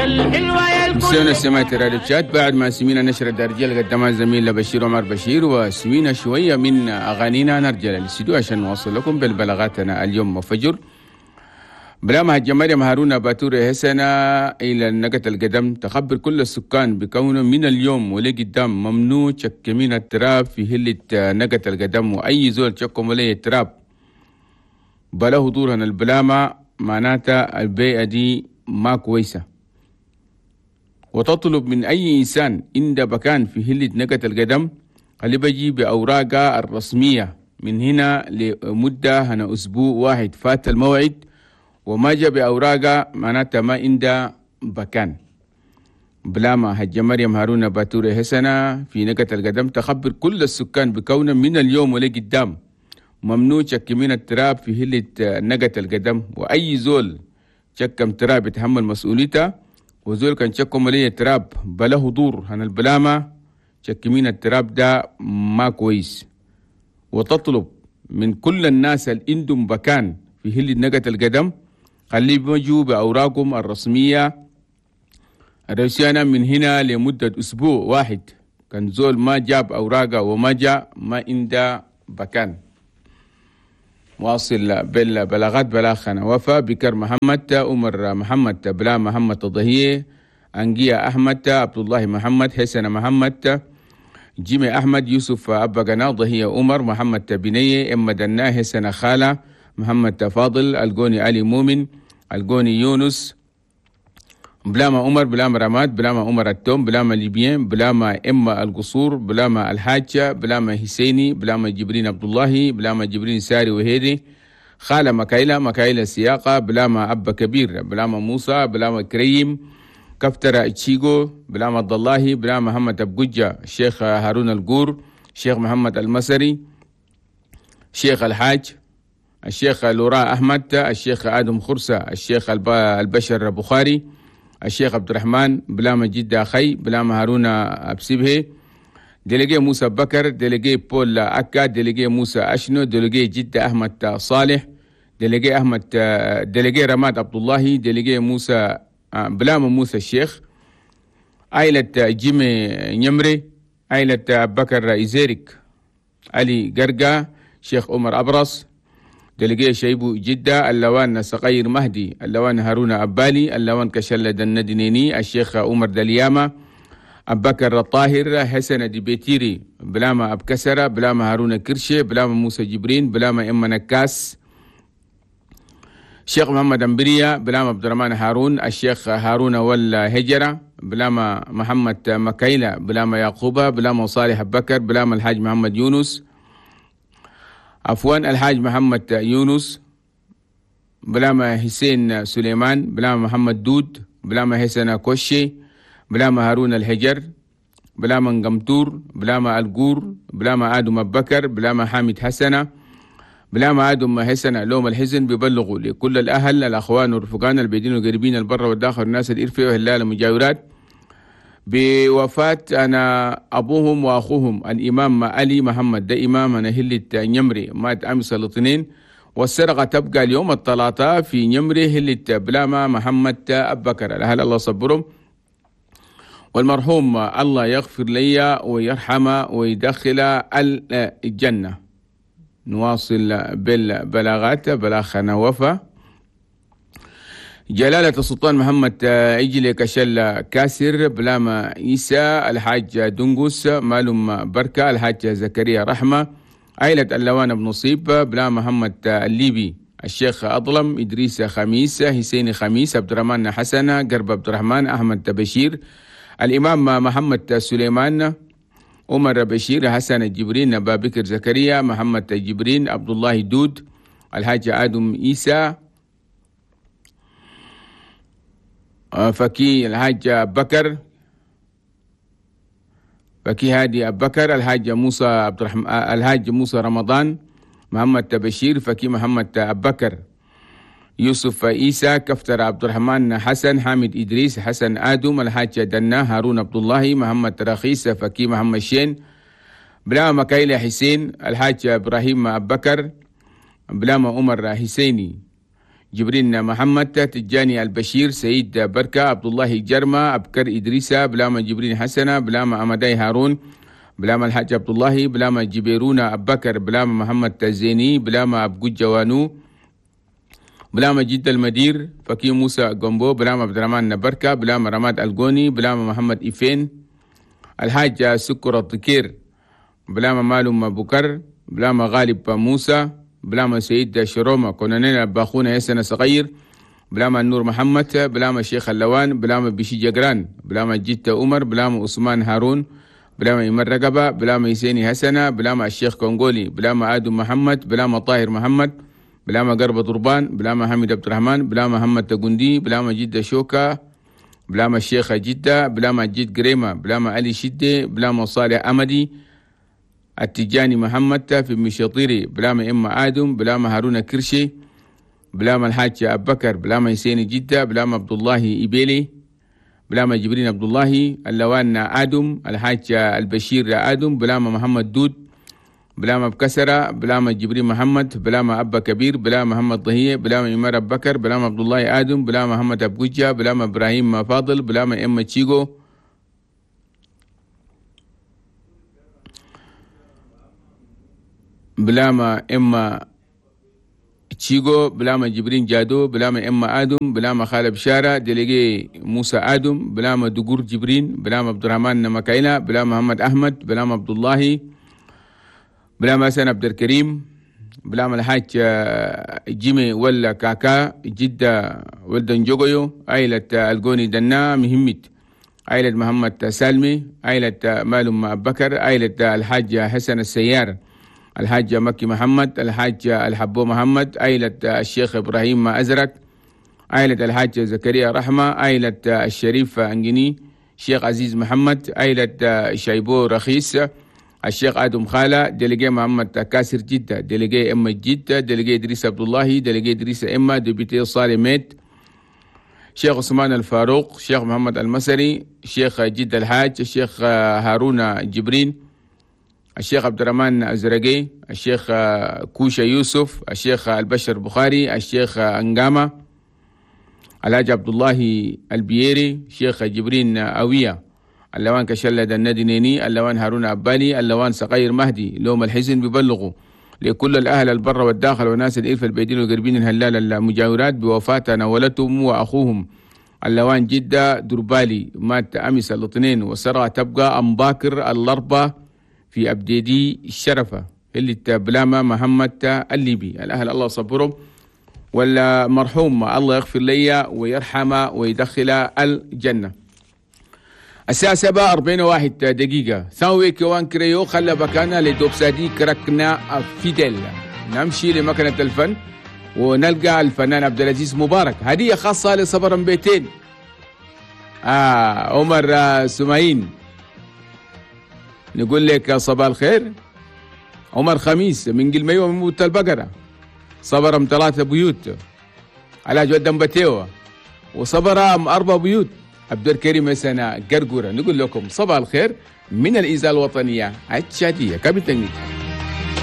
مستمعينا السماء راديو تشاد، بعد ما سمينا نشر الدرجة اللي قدمها الزميل بشير عمر بشير وسمينا شوية من أغانينا، نرجع للاستديو عشان نوصل لكم بالبلاغاتنا اليوم وفجر. بلا هجة مريم هارون باتوري حسنة إلى النقة القدم تخبر كل السكان بكونه من اليوم ولقدام ممنوع شك من التراب في هلة نقة القدم، وأي زول شكم ولي التراب بلا حضورنا البلامة معناتها البيئة دي ما كويسة. وتطلب من أي إنسان عند بكان في هلة نقة القدم اللي بيجي بأوراقه الرسمية من هنا لمدة هنا أسبوع واحد فات الموعد وما جاء بأوراقه معناتها ما عنده بكان. بلاما هجة مريم هارون باتوري حسنة في نقة القدم تخبر كل السكان بكونه من اليوم ولقدام ممنوع شك من التراب في هلة نقة القدم، وأي زول شكم تراب يتحمل مسؤوليته، وزول كان شكم ليه تراب بلا حضور هن البلامة شك من التراب ده ما كويس. وتطلب من كل الناس اللي عندهم بكان في هلة نقة القدم خليه بيجوا بأوراقهم الرسمية الرئيسية من هنا لمدة أسبوع واحد، كان زول ما جاب أوراقه وما جاء ما عنده بكان. واصل بالبلاغات بلاخنا وفا بكر محمد عمر محمد بلا محمد الضهية أنجيا أحمد عبد الله محمد حسن محمد جيمي أحمد يوسف أبا قنا ضهية عمر محمد بنية إما دنا حسن خالة محمد فاضل القوني علي مؤمن القوني يونس بلاما عمر بلاما رماد بلاما عمر التوم بلاما ليبيان بلاما إما القصور بلاما الحاجة بلاما حسيني بلاما جبرين عبد الله بلاما جبرين ساري وهيدي خالة مكايلة مكايلة سياقة بلاما أبا كبير بلاما موسى بلاما كريم كفترة تشيغو بلاما عبد الله بلاما محمد أبجوجة الشيخ هارون القور الشيخ محمد المسري الشيخ الحاج الشيخ لوراء أحمد الشيخ آدم خرسة الشيخ البشر بخاري الشيخ عبد الرحمن بلاما جدة خي بلاما هارون أبسبه délégué موسى بكر délégué بول أكا délégué موسى أشنو délégué جدة أحمد صالح délégué أحمد délégué رماد عبد الله délégué موسى بلاما موسى الشيخ عائلة جيمي نمري عائلة بكر إزيرك علي قرقة شيخ عمر أبرص délégué شيبو جدة اللوان صغير مهدي اللوان هارون أبالي اللوان كشلة الندنيني الشيخ عمر دليامة أبكر الطاهر حسن ديبيتيري بلاما أبكسرة بلاما هارون كرشي بلاما موسى جبرين بلاما إما نكاس الشيخ محمد أمبريا بلاما عبد الرحمن هارون الشيخ هارون والهجرة بلاما محمد مكايلة بلاما يعقوبة بلاما صالح بكر بلاما الحاج محمد يونس عفوا الحاج محمد يونس بلاما حسين سليمان بلاما محمد دود بلاما حسن كوشي بلاما هارون الهجر بلاما نقمتور بلاما القور بلاما آدم بكر بلاما حامد حسنة بلاما آدم حسنة لوم الحزن بيبلغوا لكل الأهل الأخوان والرفقان البيدين والقريبين البر والداخل الناس الإرفة وهلال المجاورات بوفاة أنا أبوهم وأخوهم الإمام علي محمد ده إمام أنا هلة نمري مات أمس الاثنين، والسرقة تبقى اليوم الثلاثاء في نمري هلة بلاما محمد أبكر. الأهل الله صبرهم، والمرحوم الله يغفر لي ويرحمه ويدخل الجنة. نواصل بالبلاغات. بلاغنا وفا جلالة السلطان محمد إجلي كشل كاسر بلاما عيسى الحاج دنقس مالوم بركة الحاج زكريا رحمة عائلة اللوان بن نصيب بلا محمد الليبي الشيخ أظلم إدريس خميس حسين خميس عبد الرحمن حسن قرب عبد الرحمن أحمد بشير الإمام محمد سليمان عمر بشير حسن جبرين بابكر زكريا محمد جبرين عبد الله دود الحاج آدم عيسى فكي الحاج بكر فكي هادي أبكر الحاج موسى عبد الرحمن الحاج موسى رمضان محمد بشير فكي محمد أبكر يوسف عيسى كفتر عبد الرحمن حسن حامد إدريس حسن آدم الحاج دنا هارون عبد الله محمد رخيص فكي محمد شين بلا مكايلة حسين الحاج إبراهيم أبكر بلا عمر حسيني جبرين محمد، تجاني البشير، سيد بركة، عبد الله جرمة، أبكر إدريسة، بلاما جبرين حسنة، بلاما أمداي هارون، بلاما الحاج عبد الله، بلاما جبيرونا أبكر، بلاما محمد تزيني، بلاما أبقو جوانو، بلاما جد المدير فكي موسى جومبو، بلاما عبد الرحمن نبركة، بلاما رماد الجوني، بلاما محمد إفين، الحاج سكر الطكير، بلاما مالوم بكر، بلاما غالب موسى، بلاما سيد شروما كونانينا باخونا يسنة صغير، بلاما النور محمد، بلاما شيخ اللوان، بلاما بشي جقران، بلاما جيت عمر، بلاما عثمان هارون، بلاما إيمان رقبة، بلاما يسيني حسنة، بلاما الشيخ كونغولي، بلاما آدم محمد، بلاما طاهر محمد، بلاما قرب ضربان، بلاما حميد عبد الرحمن، بلاما محمد تقندي، بلاما جدة شوكا، بلاما الشيخ جدة، بلاما جد قريمة، بلاما علي شدة، بلاما صالح أمدي، التجاني محمد في مشاطيري، بلاما إما آدم، بلاما هارون كرشي، بلاما الحاج أبو بكر، بلاما يسيني جدة، بلاما عبد الله إبيلي، بلاما جبرين عبد الله، اللوان آدم، الحاج البشير آدم، بلاما محمد دود، بلاما بكسرة، بلاما جبرين محمد، بلاما أبا كبير، بلاما محمد ضهية، بلاما إمار أبو بكر، بلاما عبد الله آدم، بلاما محمد أبو بلاما إبراهيم فاضل، بلاما إما تشيغو، بلاما إما تشيغو، بلاما جبرين جادو، بلاما إما آدم، بلاما خالد بشارة، دليجي موسى آدم، بلاما دقور جبرين، بلاما عبد الرحمن مكايلة، بلاما محمد أحمد، بلاما عبد الله، بلاما حسن عبد الكريم، بلاما الحاج جيمي ولا كاكا جدة ولدن جوجيو، عائلة الجوني دنا مهمت، عائلة محمد سالمي، عائلة مالم بكر، عائلة الحاج حسن السيار، الحاج مكي محمد، الحاج الحبو محمد، عائلة الشيخ إبراهيم أزرق، عائلة الحاج زكريا رحمة، عائلة الشريف أنجني، شيخ عزيز محمد، عائلة شايبو رخيص، الشيخ آدم خالة، délégué محمد كاسر جدة، délégué إما جدة، délégué إدريس عبد الله، délégué إدريس إما، député صالح ميت، شيخ عثمان الفاروق، شيخ محمد المسري، شيخ جدة الحاج، الشيخ هارون جبرين، الشيخ عبد الرحمن أزرقي، الشيخ كوشا يوسف، الشيخ البشر بخاري، الشيخ أنقامة، الحاج عبد الله البييري، شيخ جبرين أوية، اللوان كشلد الندنيني، اللوان هارون أبالي، اللوان صغير مهدي. لوم الحزن ببلغوا لكل الأهل البر والداخل وناس الإلف البيدين والقربين الهلال المجاورات بوفاة نولتهم وأخوهم اللوان جدة دربالي، مات أمس الاثنين وسرى تبقى أم باكر الأربعة في أبديدي الشرفة اللي بلاما محمد الليبي. الأهل الله صبرهم، والمرحوم الله يغفر لي ويرحمه ويدخل الجنة. الساعة 7:41 ثاوي كوان كريو خلى بكانا لدوبسادي كركنا فيدل. نمشي لمكنة الفن ونلقى الفنان عبد العزيز مبارك، هدية خاصة لصبر بيتين. عمر سمايين، نقول لك صباح الخير. عمر خميس من قلميوة من موت البقرة، صبرم 3 بيوت على جود بتيوة، وصبرم 4 بيوت عبد الكريم سنة قرقورة. نقول لكم صباح الخير من الإذاعة الوطنية التشادية. كابتن.